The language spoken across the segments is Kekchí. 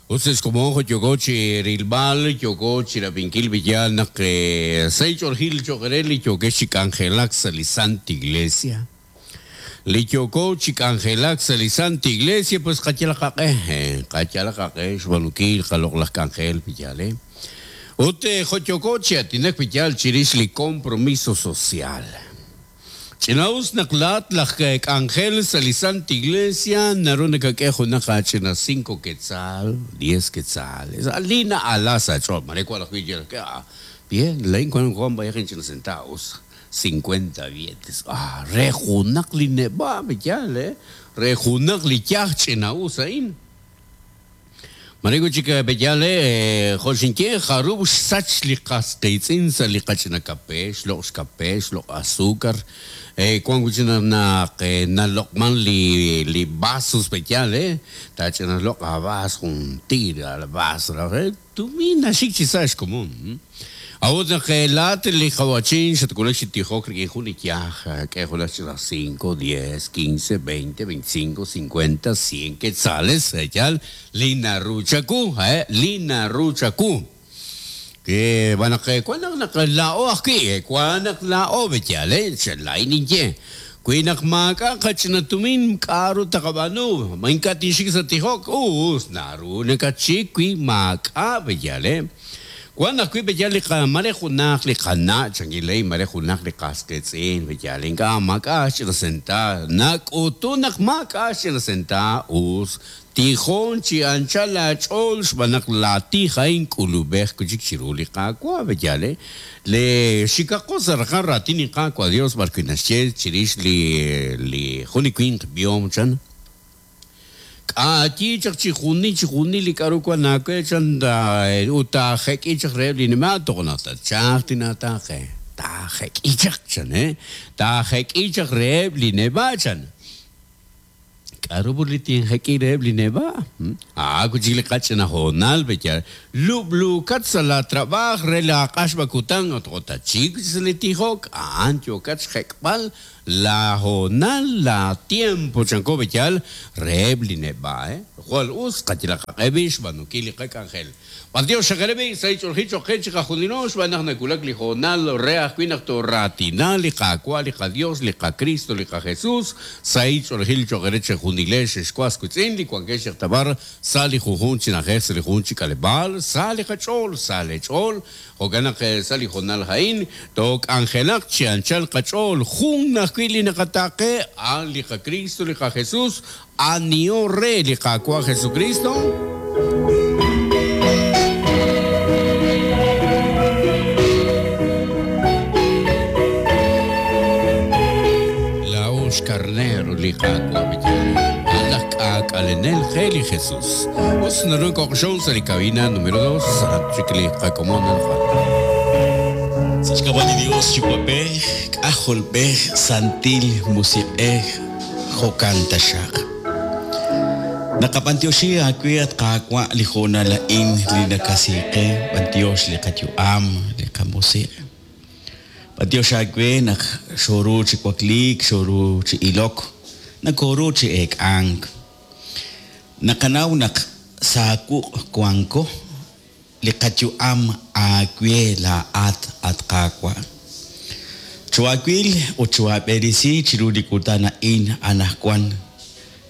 Ut sa' xkomon jo' yooko chi rilb'al, yooko chi rab'inkil b'iyal naq sa' ch'oolejil cho'q re li yookex chi k'anjelak sa' li Santa Iglesia. Li yooko chi k'anjelak sa' li Santa Iglesia pues qayalaq qaq'e, qayalaq qaq'e xb'aanunkil qaloq'laj k'anjel b'iyal, Ut jo' yooko chi aatinak b'iyal chirix li compromiso social. Ch'ina'us naq laa'at laj k'anjel sa' li Santa Iglesia naru nakak'e junaq aach'ina cinco quetzal, diez quetzales, li na'ala sa' aach'ool. Mare wan ajwi' yal ah, bien, laa'in wan wan b'ayaq inch'ina centavos, cincuenta billetes, ah, re junaq li neb'a' yaal, eh, re junaq li yaj ch'ina'us a'in. Mare wi' chik pe'yaal jo' xinye, jarub' xsach li qas qiitz'in sa' li qach'ina kape, xloq' xkape, xloq' azúcar, wan wi' chik naq naloq'man li li vasos pe'yaal taach'ina loq' aavaas jun tiir vaas raj, Tumin naxik chi sa' xkomon. A'ut naq laa'at li qawa'chin xatwulak chi tijok rik'in jun li yaj, k'e junaq ch'ina cinco, diez, quince, veinte, veinticinco, cincuenta, cien quetzales, yaal, li naru chawu, li naru chawu. Xb'aan naq wan naq naq laa'o ajwi', wan naq laa'o, yaal, laa'in ninye, Wi naq maak'a' qach'ina tumin, k'a'ru taqab'aanu? Ma ink'a' tinxik sa' tijok? Us, naru nakatxik wi maak'a' b'eyal, eh? Wan ajwi' b'eyal li qa, mare junaq li qana' chankil ley, mare junaq li qas qiitz'in b'eyal, ink'a' maak'a' xch'ina senta, nak'utun naq maak'a' xch'ina senta, us, Tijon chi anchal aach'ool xb'aan naq laatij a'in k'ulub'ej wi' chik chiru li Qaawa'. Yaal, eh? Le xikaqo sa' raqal raatin li Qaawa' Dios b'arwi' naxye chirix li li jun li winq b'ihom chan, K'ayi chaq chi junil chi junil li k'a'ru wan aawe chan ut taajek'i chaq reheb' li nima' toj naq tatchalq tinaataaqe. Taajek'i chaq chan, eh? Taajek'i chaq reheb' li neb'a' chan. K'a'ru put li tinjek'i reheb' li neb'a'? A'an wi' chik li qach'ina hoonal, pe'yaal? Lub'luukat sa' laa trab'aaj re laa q'axb'a kutan ut jo' tatxik wi' chik sa' li tijok, a'an yookat xjek'b'al laa hoonal, laa tiempo, chanko pe'yaal, reheb' li neb'a', eh? Jwal us qayalaq qaq'e b'i' xb'aanunkil li qak'anjel. B'antiox xaqere b'i' sa' li ch'oolejil cho'q qe chiqajunilo xb'aan naq nawulak li hoonal re ajwi' naq tooraatina li Qaawa' li qaDios, li qaKristo, li qaJesus, sahil ch'oolejil cho'q eere chejunilex ex was wiitz'in li wankex yaq ta b'ar sa' li junjunq chi na'ajej, sa' li junjunq chi k'aleb'aal, sa' li qach'ool, sa' leech'ool, jo'kan naq sa' li hoonal a'in took'anjelaq chi anchal qach'ool, jun ajwi' li naqataaqe, a'an li qaKristo, li qaJesus, Aniho re li Qaawa' Jesukristo? Laa'o xkarneer li Qaawa' B'eyal, a'an laj k'aak'alenel qe li Jesus. Us naru koqxon sa' li cabina numero dos, aran chik li qakomon anaqwan. Sa' xk'ab'a' li Dios Yuwa'b'ej, K'ajolb'ej, Santil Musiq'ej, Jo'kan taxaq. Naqab'antioxi aawe, at Qaawa', li hoonal a'in li nakasi qe, b'antiox li qayu'am, li qamusiq'. B'antiox aawe naq xooru chi wakliik, xooru chi ilok, nakooru chi eek'ank. Naqanaw naq sa wuq' wanko, li qayu'am aawe laa'at, at Qaawa'. Choohaawil ut choohaab'eresi chiru li kutan a'in anaqwan,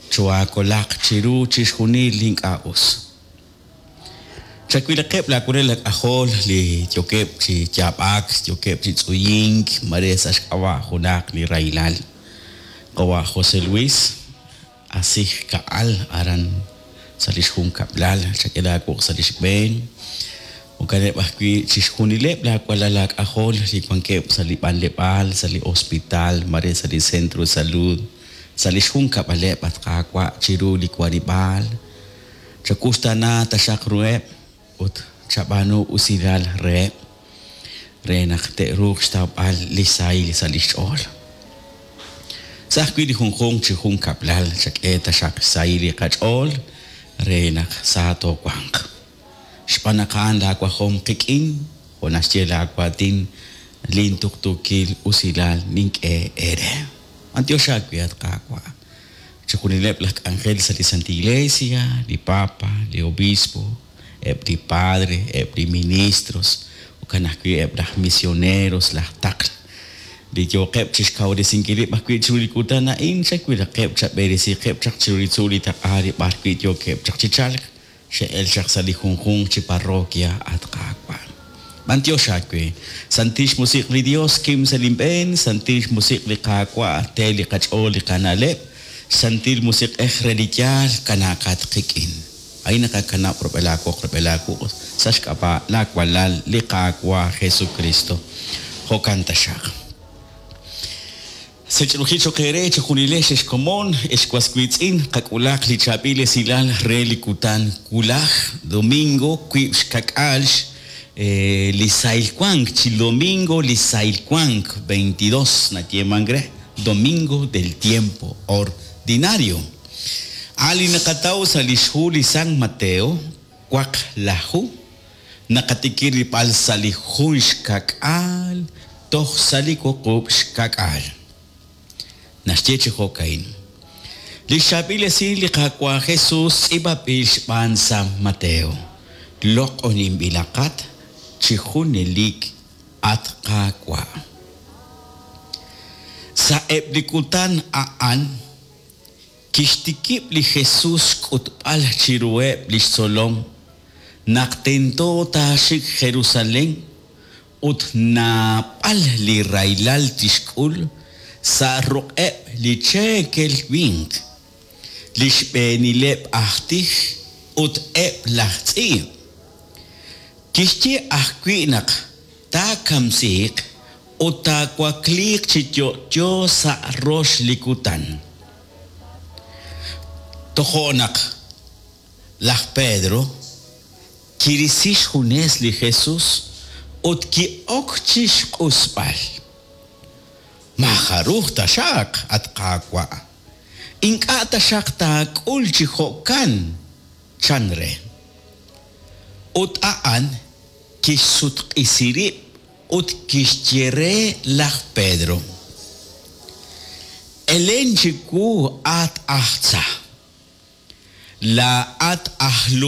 choohaakolaq chiru chixjunil li ink'a' us. Chawilaqeb' laawalal aak'ajol li yookeb' chi yaab'ak, yookeb' chi tz'uyink, mare sa' xk'ab'a' junaq li rahilal. Qawa' José Luis. Asij ka'al aran sa' li xjunkab'lal, chak'e laawuq' sa' li xb'een. Jo'kaneb' ajwi' chixjunileb' laawalal aak'ajol li wankeb' sa' li b'anleb'aal, sa' li hospital, mare sa' li centro de salud, sa' li xjunkab'aleb', at Qaawa', chiru li warib'aal. Chawuxtaana taxaq ruheb' ut chab'aanu usilal reheb' re naq te'ruuq xtawb'al li sahil sa' li xch'ool. Sa' ajwi' li junjunq chi junkab'lal chak'e taxaq xsahil li qach'ool re naq sa toowanq. Xb'aan naq a'an laawajom qik'in, jo' naxye laawaatin, Lintuqtuukil usilal nink'e eere. B'antiox aawe, at Qaawa'. Chixjunileb' laj k'anjel sa' li Santa Iglesia, li Papa, li Obispo. eb' li padre, eb' li ministros, jo'kan ajwi' eb' laj misioneros, laj taql, li yooqeb' chixkawresinkil rib' ajwi' chiru li kutan a'in, chawilaqeb', chab'eresiqeb' chaq chiru li tzuul li taq'a li b'ar wi' yookeb' chaq chi chalk, xe'el chaq sa' li junjunq chi parroquia, at Qaawa'. B'antiox aawe, Santil Xmusiq' li Dios kim sa' linb'een, Santil Xmusiq' li Qaawa' te li qach'ool li qana'leb', Santil Musiq'ej re li yaal kanaaqat qik'in. A'in naqakanab' rub'el aawoq rub'el aawuq' sa' xk'ab'a' laawalal li Qaawa' Jesucristo. Jo'kan taxaq. Sech'ruji choq eere chejunilex ex komon, ex was wiitz'in, qak'ulaq li chaab'il esilal re li kutan wulaj, domingo, wiib' xka'k'aal li sahil wank, chi domingo li sahil wank, 22 nayeemank re, domingo del tiempo ordinario. A' li naqataw sa' li xhu li San Mateo, waqlaju, naqatikib' rilb'al sa' li jun xka'k'aal toj sa' li wuqub' xka'k'aal. Naxye chi jo'ka'in, Li xchaab'il esil li Qaawa' Jesus tz'iib'anb'il xb'aan San Mateo, loq'oninb'ilaqat chi junelik at Qaawa'. Sa'eb' li kutan a'an kixtikib' li Jesus xk'utb'al chiruheb' li xtzolom naq tento taaxik Jerusalén ut naab'al li rahilal tixk'ul sa' ruq'eb' li cheekel winq, li xb'eenileb' aj tij ut eb' laj tz'iib'. Kixye ajwi' naq taakamsiiq ut taawakliiq chi yo'yo sa' rox li kutan. Tojo' naq laj Pedro kirisi xjunes li Jesus ut ki'ok chi xq'usb'al. Maajaruj taxaq, at Qaawa', ink'a' taxaq taak'ul chi jo'kan, chan re. Ut a'an kixsutq'isi rib' ut kixye re laj Pedro, Elen chiwu, at aj tza! Laa'at aj.